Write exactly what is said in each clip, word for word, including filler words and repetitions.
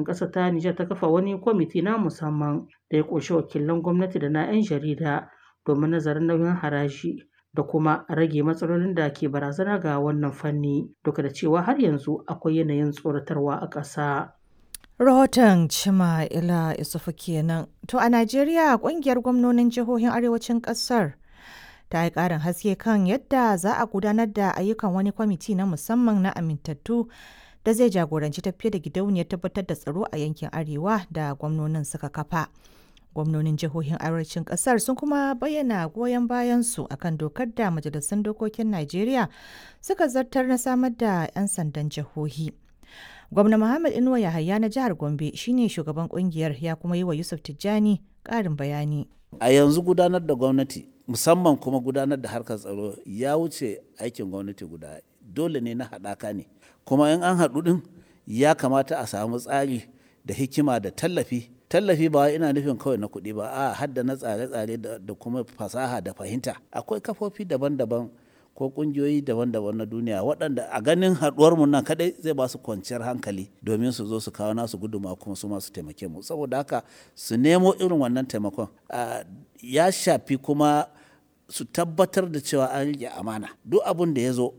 Ƙasar ta Nijar ta kafa wani kwamiti na musamman da ya ƙunshi wakilan gwamnati da na 'yan jarida domin nazarin nauyin haraji da kuma rage matsalolin da ke barazana ga wannan fanni, duk da cewa har yanzu akwai yanayin tsoratarwa a ƙasa. Rahoton Chimamanda Isufu kenan. To a Najeriya kungiyar gwamnonin jihohin arewacin kasar ta yi ƙarin haske kan yadda za a gudanar da ayyukan wani kwamiti na musamman na amintattu da zai jagoranci tafiyar da gidauniyar tabbatar da tsaro a yankin arewa da gwamnonin suka kafa. Gwamnonin jihohin arewacin kasar sun kuma bayyana goyon bayansu akan dokar da majalisun dokokin Najeriya suka zartar na samar da 'yan sandan jihohi. Gwamna Muhammad Inuwa Yahaya na jihar Gombe shine shugaban kungiyar ya kuma yi wa Yusuf Tijjani ƙarin bayani. A yanzu gudanar da gwamnati musamman kuma gudanar da harkar tsaro ya wuce aikin gwamnati guda dole ne na haɗaka ne kuma in an haɗu ɗin ya kamata a samu tsari da hikima da tallafi tallafi ba ina nufin kawai na kuɗi ba a hadda na tsare-tsare da kuma fasaha da fahimta akwai kafofi daban-daban ko kungiyoyi daban-daban na duniya waɗanda a ganin haɗuwar mu nan kaɗai zai ba su kwanciyar hankali domin su zo su kawo nasu guduma kuma su masu taimake mu saboda haka su nemo irin wannan taimakon ya shafi kuma su tabbatar da cewa an riƙe amana duk abin da ya zo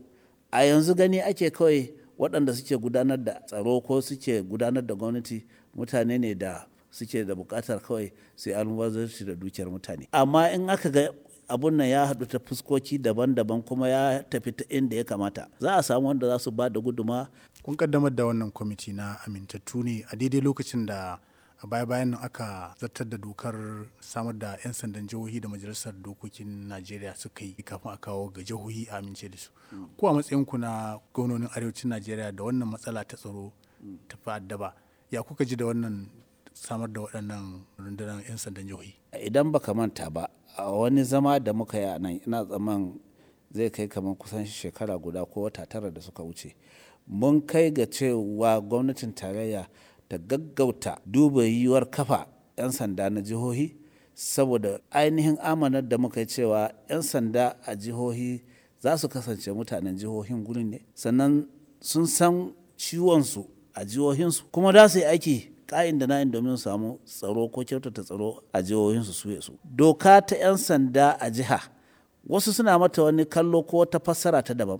a yanzu gani ake kawai waɗanda suke gudanar da tsaro ko suke gudanar da gwamnati mutane ne da suke da buƙatar kawai su yi almubazarci da dukiyar mutane amma in aka ga abun nan ya haɗu ta fuskoki daban-daban kuma ya tafi ta inda ya kamata za a samu wanda za su ba da guduma. Kun kaddamar da wannan kwamiti na amintattu ne a daidai lokacin da a baya-bayan nan aka zartar da dokar samar da 'yan sandan jihohi da majalisar dokokin Najeriya suka yi kafin a kawo ga jihohi a amince da su. Ko a matsayinku na gwamnonin arewacin Najeriya da wannan matsala ta tsaro ta fi addaba ya kuka ji da wannan samar da waɗannan rundunar 'yan sandan jihohi? Idan baka manta ba a wani zama da muka yi a nan ina tsaman zai kai kamar kusan shekara guda ko wata tara da suka wuce mun kai ga cewa gwamnatin tarayya ta gaggauta duba yiwuwar kafa 'yan sanda na jihohi saboda ainihin amanar da muka yi cewa 'yan sanda a jihohi za su kasance mutanen jihohin gurin ne sannan sun san ciwonsu a jihohinsu kuma za su yi aiki ka'in da na'in domin samu tsaro ko kyautata tsaro a jihohinsu su su. Doka ta 'yan sanda a jiha wasu suna mata wani kallo ko wata fassara ta daban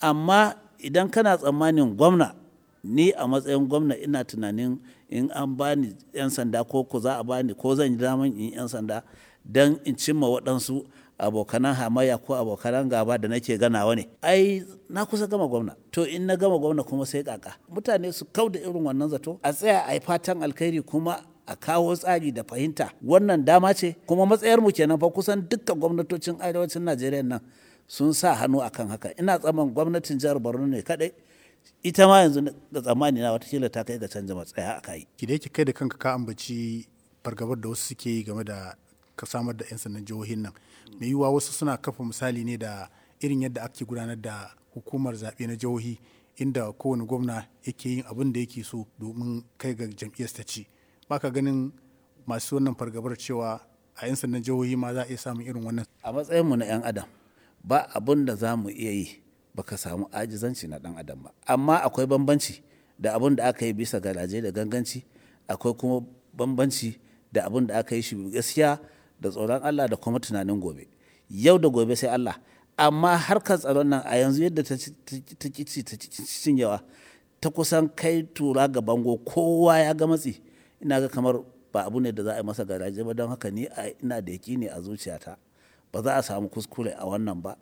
amma idan kana tsammanin gwamna ni a matsayin gwamna ina tunanin in an bani 'yan sanda ko ko za a bani ko zan yi daman in 'yan sanda don in cimma waɗansu abokanan hamayya ko abokanan gaba da nake ganawa ne ai na kusa gama gwamna to in na gama gwamna kuma sai kaka mutane su kau da irin wannan zato a tsaya a yi fatan alkhairi kuma a kawo tsari da fahimta wannan dama ce kuma matsayar mu kenan fa kusan dukkan gwamnatocin arewacin Najeriya nan sun sa hannu akan haka ina tsaman gwamnatin jihar Borno ne kadai ita ma yanzu da tsammani na watakila ta kai ga canza matsaya a kai. Ki da yake kai da kanka ka ambaci fargabar da wasu suke yi game da ka samar da 'yan sandan jihohin nan mai yiwuwa wasu suna kafa misali ne da irin yadda ake gudanar da hukumar zaɓe na jihohi inda kowane gwamna yake yin abin da yake so domin kai ga jam'iyyar ta ci baka ganin masu wannan fargabar cewa a 'yan sandan jihohi ma za a iya samun irin wannan a matsayinmu na 'yan adam ba abin da za mu iya yi baka samu ajizanci na dan adam ba amma akwai bambanci da abin da aka yi bisa garaje da ganganci akwai kuma bambanci da abin da aka yi shi gaskiya da tsoron Allah da kuma tunanin gobe yau da gobe sai Allah amma harkar tsaron nan a yanzu yadda ta ci ta cinyewa ta kusan kai tura ga bango kowa ya ga matsi ina ga kamar ba abu ne da za a yi masa garaje ba don haka ni ina da yaƙini a zuciyata ba za a samu kuskure a wannan ba.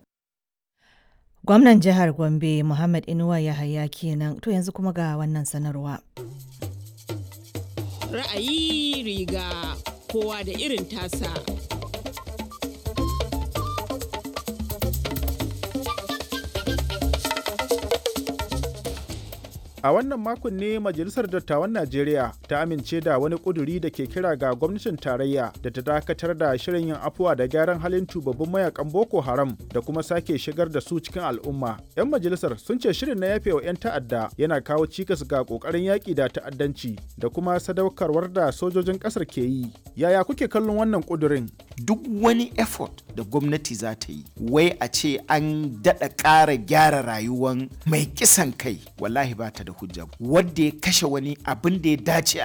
Gwamnan jihar Gombe Muhammad Inuwa Yahaya kenan to yanzu kuma ga wannan sanarwa. Ra'ayi riga kowa da irin tasa. A wannan makon ne Majalisar Dattawan Najeriya ta amince da wani ƙuduri da ke kira ga gwamnatin tarayya da ta dakatar da shirin yin afuwa da gyaran halin tubabbin mayakan Boko Haram da kuma sake shigar da su cikin al'umma. 'Yan majalisar sun ce shirin na yafewa 'yan ta'adda yana kawo cikas ga ƙoƙarin yaƙi da ta'addanci da kuma sadaukarwar da sojojin ƙasar ke yi. Yaya kuke kallon wannan ƙudurin? Duk wani effort da gwamnati za ta yi, wai a ce an daɗa ƙara gyara rayuwan mai kisan kai, wallahi ba ta da hujja. Wanda ya kashe wani, abin da ya dace a